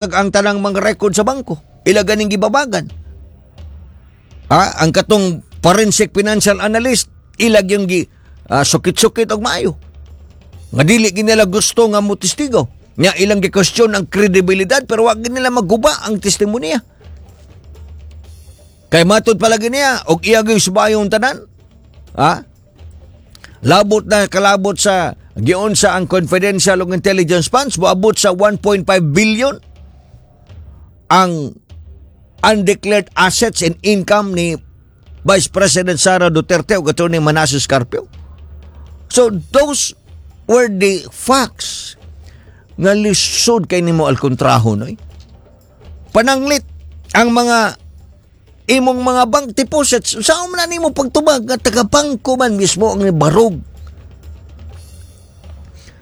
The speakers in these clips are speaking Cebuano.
Ang tanang mga record sa bangko. Ila ganing gibabagan. Ha? Ang katong forensic financial analyst, ilag yung gi sukit-sukit og maayo. Nga dili gid nila gusto nga mo testigo. Nya ilang gi-question ang kredibilidad, pero wag gid nila maguba ang testimonya. Kay matud palagi niya og iya gyud subayon tanan. Ha? Labot na kalabot sa giunsa ang confidential ug intelligence funds, moabot sa 1.5 billion ang undeclared assets and income ni Vice President Sara Duterte ug Attorney Manases Carpio. So those were the facts nga lisod kay nimo alkontraho, noy. Pananglit ang mga imong mga bank deposits, saan man na nimo pagtubag nga taga-bangko man mismo ang barog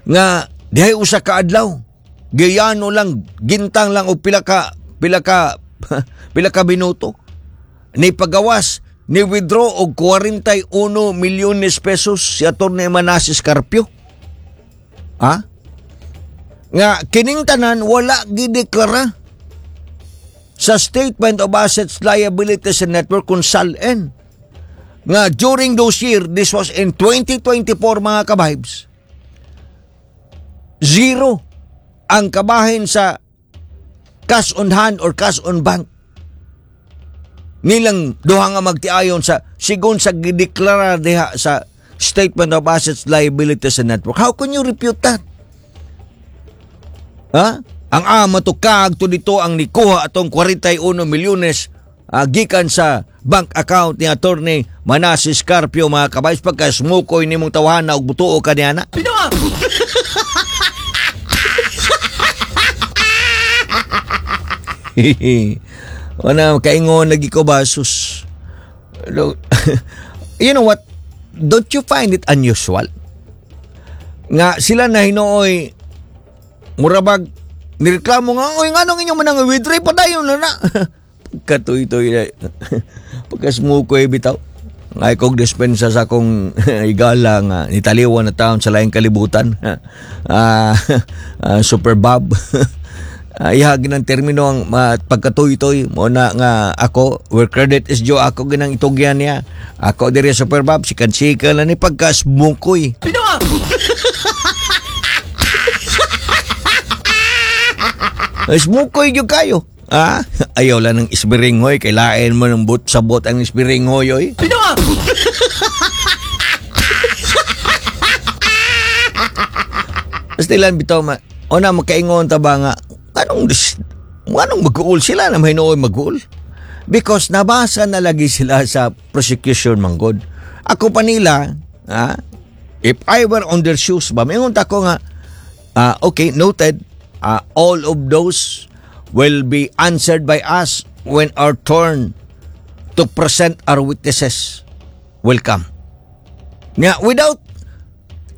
nga dihay usa ka adlaw giyano lang, gintang lang og pila ka minuto ni pagawas, ni withdraw og 41 milyones pesos si Atty. Manases Carpio, ha, nga kining tanan wala gideklara sa Statement of Assets, Liabilities and Net Worth kung SALN. Nga during those year, this was in 2024, mga kabibes, zero ang kabahin sa cash on hand or cash on bank nilang duha nga magtiayon sa sigon sa gideklara diha sa Statement of Assets, Liabilities and Net Worth. How can you refute that? Ha? Ang ama to kag to dito ang nikuha atong 41 milyones gikan sa bank account ni Attorney Manases Carpio, mga kabays, pagka smukoy nimong tawhana og butuo ka niya na. Pinoa! Wala, kaingon lagi ko ba, sus. You know what? Don't you find it unusual nga sila na hinuoy murabag nireklamo nga, "Oy, nganong inyong manang withdraw pa dayon na na?" Pagkatuy-tuy na. Pagkasmukoy bitaw. Ngay kog dispensa sa akong igala nga nitaliwan na taon sa laing kalibutan. Super Bob. Ihag ng termino ang pagkatuy-tuy mo na nga ako, where credit is due, ako ginang itugyan niya. Ako diri, Super Bob, sikan-sikan na ni pagkasmukoy. Pinoa! Smukoy gyud kayo. Ah, ayaw lang ng isbiringhoy, kay lain mo ng but sa bot ang isbiringhoy, oy. Pinoa! Basta lang bitaw ma. Una makaingon ta ba nga anong mag-uul sila na mahinuoy mag-uul? Because nabasa na lagi sila sa prosecution manggod. Ako pa nila, ha? If I were on their shoes ba, maingon ta ko nga, okay, noted, all of those will be answered by us when our turn to present our witnesses will come. Nga, without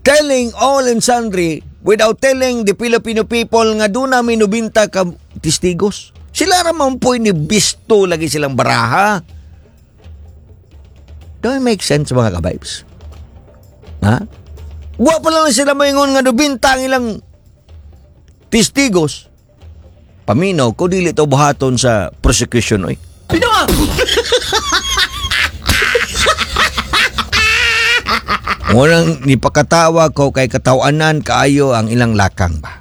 telling all and sundry, without telling the Filipino people nga doon namin nubinta ka testigos. Sila ra man po'y ni bisto lagi silang baraha. Do it make sense, mga kabibes? Ha? Wa pa lang sila maingon nga nubinta ang ilang testigos. Paminaw ko, dili to buhaton sa prosecution, oy. Pinoa! Walang nipakatawa ko kay katawanan kaayo ang ilang lakang ba.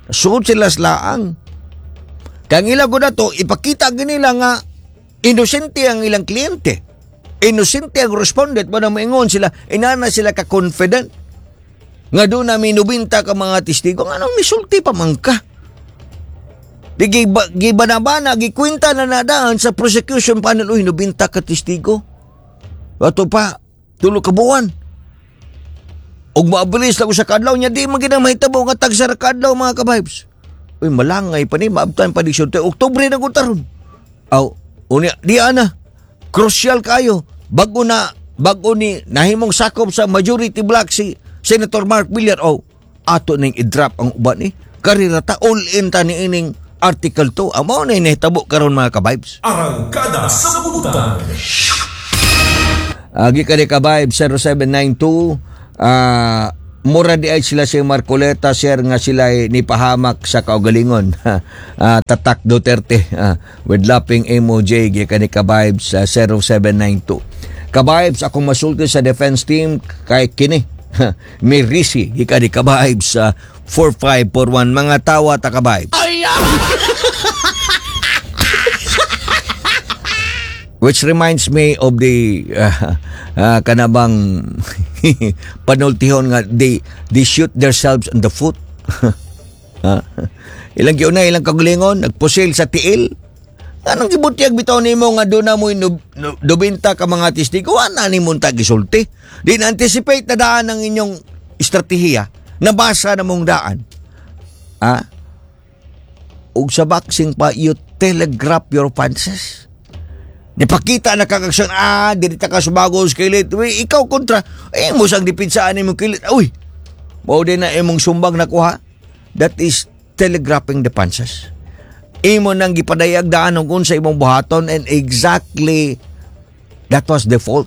Suod sila sa laang. Kang ilang ko na to, ipakita nila nga inosente ang ilang kliyente. Inosente ang respondent ba na maingon sila, inana sila ka-confident. Nga doon namin nubinta ka mga testigo, anong misulti pa man ka? Di gibana-bana, gikwinta na nadaan sa prosecution panel, uy, nubinta ka testigo. Ato pa, tulo ka buwan. Ug maabilis lang sa kadlaw niya, di man ginang mahitabo nga tagsa ra kadlaw, mga kabibes. Uy, malangay pa ni, maabtan pa di siya. Oktubre na ko taron. Aw, unya, di ana, crucial kayo. Bago na, bago ni nahimong sakop sa majority block si Senator Mark Villar, oh, ato ning i-drop ang uban ni. Karira ta, all in ta ni ining Article 2. Amo na inahitabo karon, mga kabibes. Arangkada sa Butan. Agi ka ni kabibes 0792 Mura di ay sila si Marcoleta, sir, nga sila ay nipahamak sa kaugalingon. Tatak Duterte with laughing emoji gikan ni Kabibes 0792. Kabibes, akong masulti sa defense team kay kini. Mirisi gikan ni Kabibes sa 4541. Mga tawa ta, Kabibes. Which reminds me of the kanabang panultihon nga they shoot themselves in the foot. Ilang giuna ilang kagalingon nagpusil sa tiil. Anong gibutyag bitaw nimo nga doon na mo 90 ka mga testigo, wala ni mong gisulti. Di na anticipate na daan ang inyong estratehiya, nabasa na mong daan. Ah? Ug sa boxing pa, you telegraph your punches. Nipakita na kag aksyon, dili ta ka subago sa kilit. Uy, ikaw kontra, eh, mo sang dipensaan imong kilit. Uy, mao din na imong sumbag nakuha. That is telegraphing the punches. Imo nang gipadayag daan og unsa imong buhaton, and exactly that was the fault.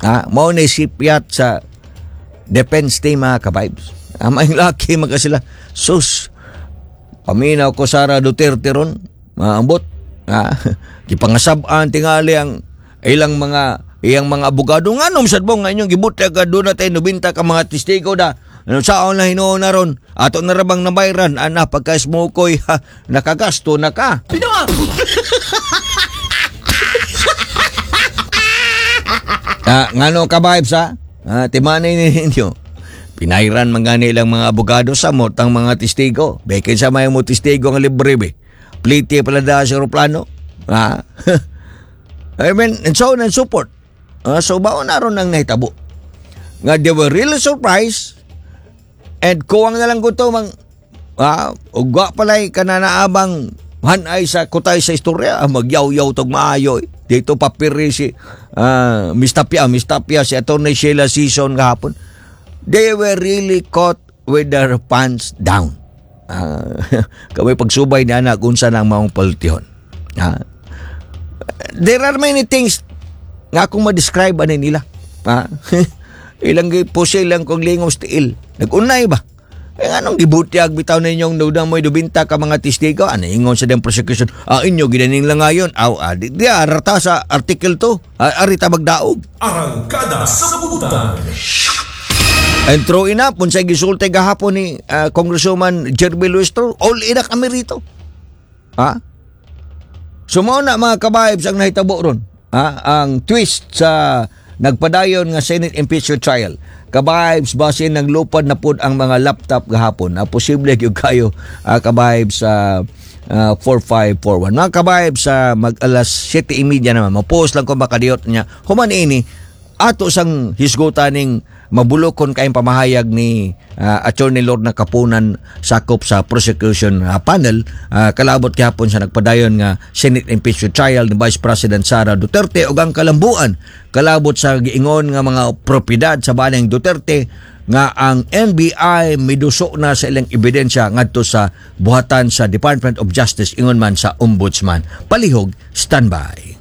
Mao ni sipyat sa defense team, mga kabibes. May laki man ka sila. Sus, paminaw ko Sara Duterte ron, maambot. Gipangasab-an tingali ang ilang mga iyang mga abogado, nganom sad mo nga inyong gibutyag ka doon na tayo 90 ka mga testigo da. Ano saon na hinuon na ron? Ato na rabang nabayran ana pagka smokoy ha, nakagasto na ka. Ngano ka, vibes, ha? Timanay ninyo. Pinayran man gani ilang mga abogado sa motang mga testigo. Bekin sa may mo testigo nga libre be. Pliti pala da sa aeroplano. I mean, and so on and so forth. So baon na ron ang nahitabo. Nga they were really surprised and kuwang na lang ko to mang ugwa pala'y kananaabang hanay sa kutay sa istorya, magyaw-yaw tog maayo eh. Dito papiri si Miss Tapia, Miss Tapia, si Attorney Sheila Season kahapon. They were really caught with their pants down. Kami pagsubay ni anak unsa nang maong paltihon. There are many things nga akong ma-describe ani nila. Ilang pusil lang kong lingos tiil. Nag-unay ba? Eh, anong gibutyag bitaw ninyong nudang mo'y 90 ka mga testigo? Ano ingon sa diyang prosecution? Inyo ginaning lang ngayon. Aw, di, arata sa article 2. Arita magdaog. Arangkada sa butan. And true enough, kung sa gisulti gahapon ni Congresswoman Jeremy Luistro, all in na kami rito. Ha? So mao na, mga kabibes, ang nahitabo ron. Ha? Ang twist sa nagpadayon nga Senate impeachment trial. Kabibes, basin naglupad na pud ang mga laptop gahapon. Posible gyud kayo, kabibes, sa 4541. Mga kabibes, sa mag alas 7:30 naman, ma-post lang ko makadiyot niya. Human ini, ato sang hisgutan ning mabulokon kayong pamahayag ni Attorney Lorna Kapunan sakop sa prosecution panel kalabot gihapon sa nagpadayon nga Senate impeachment trial ni Vice President Sara Duterte ug ang kalambuan kalabot sa giingon nga mga propiedad sa banang Duterte nga ang NBI miduso na sa ilang ebidensya ngadto sa buhatan sa Department of Justice ingon man sa Ombudsman. Palihog, standby.